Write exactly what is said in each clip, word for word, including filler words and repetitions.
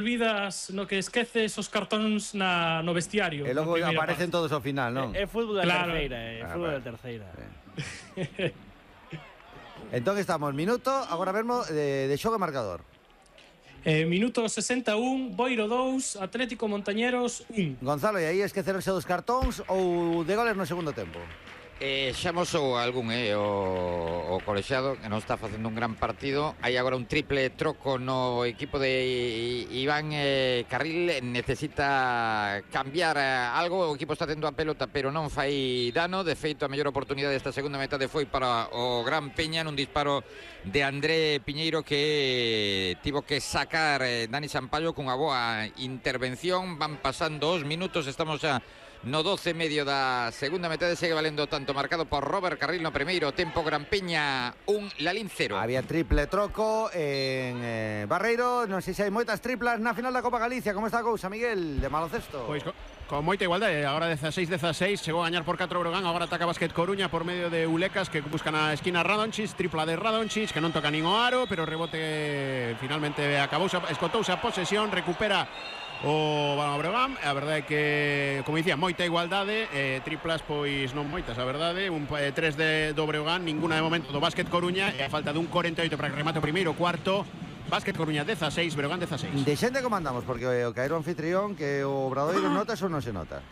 olvidas, no que esqueces os cartóns na, no vestiario. E logo aparecen parte. Todos ao final, non? É, é fútbol da claro. terceira, é ah, fútbol vale. da terceira. Entón estamos, minuto, agora mesmo, de, de xogo e marcador. Eh, minuto sesenta e un, Boiro dous, Atlético Montañeros un. Gonzalo, e aí esquecerse dos cartóns ou de goles no segundo tempo? Eh, xa mosou algún, eh, o, o colexiado que non está facendo un gran partido. Hai agora un triple troco no equipo de Iván eh, Carril. Necesita cambiar eh, algo. O equipo está tendo a pelota pero non fai dano. De feito, a mellor oportunidade desta segunda metade foi para o Gran Peña nun disparo de André Piñeiro que tivo que sacar eh, Dani Sampaio cunha boa intervención. Van pasando os minutos, estamos xa no doce e medio da segunda metade. Segue valendo tanto marcado por Robert Carril no primeiro tempo. Gran Peña un, Lalín cero. Había triple troco en eh, Barreiro. Non sei se hai moitas triplas na final da Copa Galicia. Como está a cousa, Miguel, de baloncesto? Pois con, con moita igualdade. Agora dezaseis dezaseis, chegou a gañar por catro Brogan. Agora ataca Básquet Coruña por medio de Ulecas, que buscan a esquina Radončić. Tripla de Radončić, que non toca nin o aro, pero rebote finalmente acabouse, escotouse a posesión. Recupera o Balón Breogán. A verdade é que, como dicía, moita igualdade, eh, triplas pois non moitas, a verdade, un eh, tres de do Breogán, ninguna de momento do Básquet Coruña, e a falta dun corenta e oito para que remate o primeiro cuarto. Básquet Coruña dezaseis, Breogán dezaseis. De xente como andamos, porque o caero anfitrión que o Obradoiro notas ou non se nota?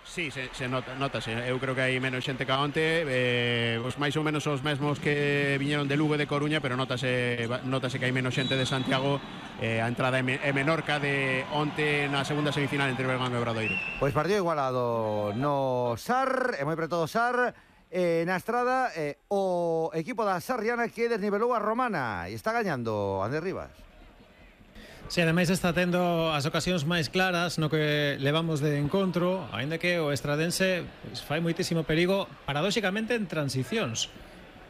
Sí, se, se nota, notase. Eu creo que hai menos xente que onte, eh, os máis ou menos os mesmos que viñeron de Lugo e de Coruña, pero notase, notase que hai menos xente de Santiago. Eh, a entrada é, me, é menor que a de onte na segunda semifinal entre Breogán e Obradoiro. Pois partido igualado no S A R, e moi preto do S A R. Eh, na estrada, eh, o equipo da Sarriana que desnivelou a Romana e está gañando Andrés Rivas. Si, ademais está tendo as ocasións máis claras no que levamos de encontro, aínda que o estradense pues, fai moitísimo perigo paradóxicamente en transicións.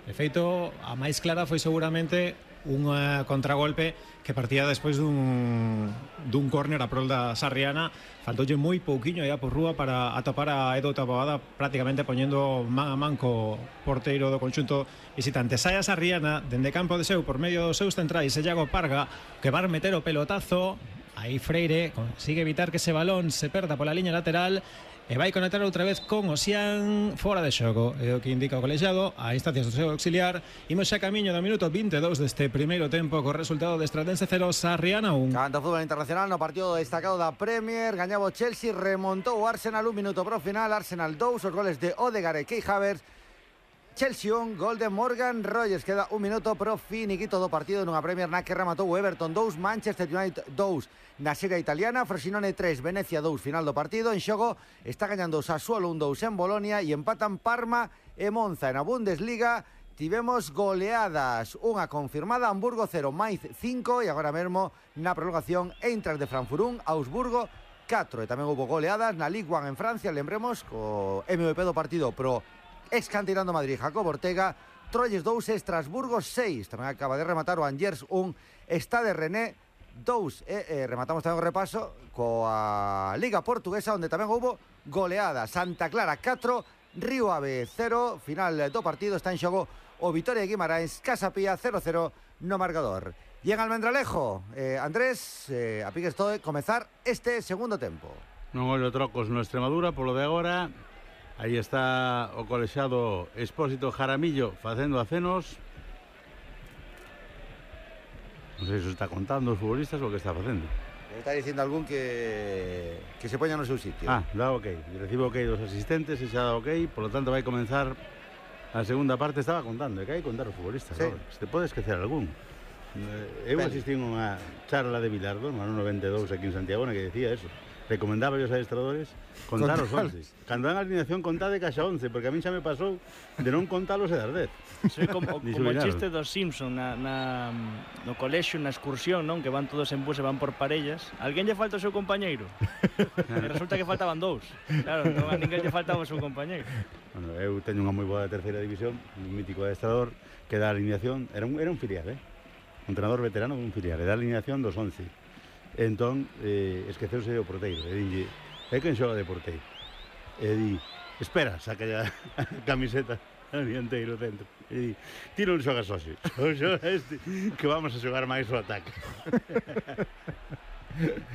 De feito, a máis clara foi seguramente un uh, contragolpe que partía despois dun, dun córner a prol da Sarriana. Faltoulle moi pouquiño aí a por rúa para atopar a Edo Taboada, prácticamente poñendo man a man co porteiro do conxunto visitante. Sai a Sarriana dende campo de seu por medio dos seus centrais, Iago Parga, que va a meter o pelotazo. Aí Freire consigue evitar que ese balón se perda pola liña lateral e vai conectar outra vez con Osián fora de xogo. É o que indica o colexiado a instancias do seu auxiliar. Imos xa camiño do minuto vinte e dous deste primeiro tempo co resultado de Estradense cero, Sarriana un. Canto fútbol internacional no partido destacado da Premier. Gañaba o Chelsea, remontou o Arsenal un minuto pro final. Arsenal dous, os goles de Odegaard e Kai Havertz. Chelsea un, gol de Morgan Rogers. Queda un minuto pro finiquito do partido nunha Premier na que rematou o Everton dous, Manchester United dous. Na Serie Italiana, Frosinone tres, Venecia dous, final do partido. En xogo está gañando o Sassuolo un dous en Bolonia e empatan Parma e Monza. En a Bundesliga tivemos goleadas, unha confirmada, Hamburgo cero, Mainz cinco, e agora mesmo na prolongación Eintracht de Frankfurt un, Augsburgo catro. E tamén houve goleadas na Ligue un en Francia, lembremos, co M V P do partido pro ex canterano Madrid, Jacob Ortega. Troyes dous, Estrasburgo seis. Tamén acaba de rematar o Angers un, Stade René dous. E eh, rematamos tamén o repaso coa Liga Portuguesa, onde tamén houve goleada. Santa Clara catro, Río Ave cero. Final do partido, está en xogo o Vitoria de Guimarães, Casa Pía cero cero no marcador. E en Almendralejo, eh, Andrés, eh, a piques todo de comezar este segundo tempo. Non ollo trocos no Extremadura, polo de agora. Aí está o colexado Expósito Jaramillo facendo acenos. Non sei se está contando os futbolistas ou que está facendo. Está dicindo algún que que se poña no seu sitio. Ah, dá ok. Recibo ok dos asistentes e xa dá ok. Por lo tanto vai comenzar a segunda parte. Estaba contando, é que hai que contar os futbolistas. Sí. Se te pode esquecer algún. Eu asistí a unha charla de Bilardo no ano noventa e dous aquí en Santiago, que decía eso. Recomendaba aos adestradores contar os once. Cando dan a alineación contade caixa once, porque a min xa me pasou de non contalos e dar dez. Soy como, como o chiste dos Simpson na, na, no colexio, na excursión, non? Que van todos en bus e van por parellas. Alguén lle falta o seu compañeiro? E resulta que faltaban dous. Claro, non a ninguén lle faltaba o seu compañeiro. Bueno, eu teño unha moi boa terceira división, un mítico adestrador que dá a alineación, era un, era un filial, eh? Un entrenador veterano dun filial, e dá a alineación dos once. Entón, eh, esqueceuse o porteiro e dille, é quen xoga de porteiro? E di, espera, saca a camiseta al dianteiro dentro e di, ti non xogas hoxe, xoga este, que vamos a xogar máis o ataque.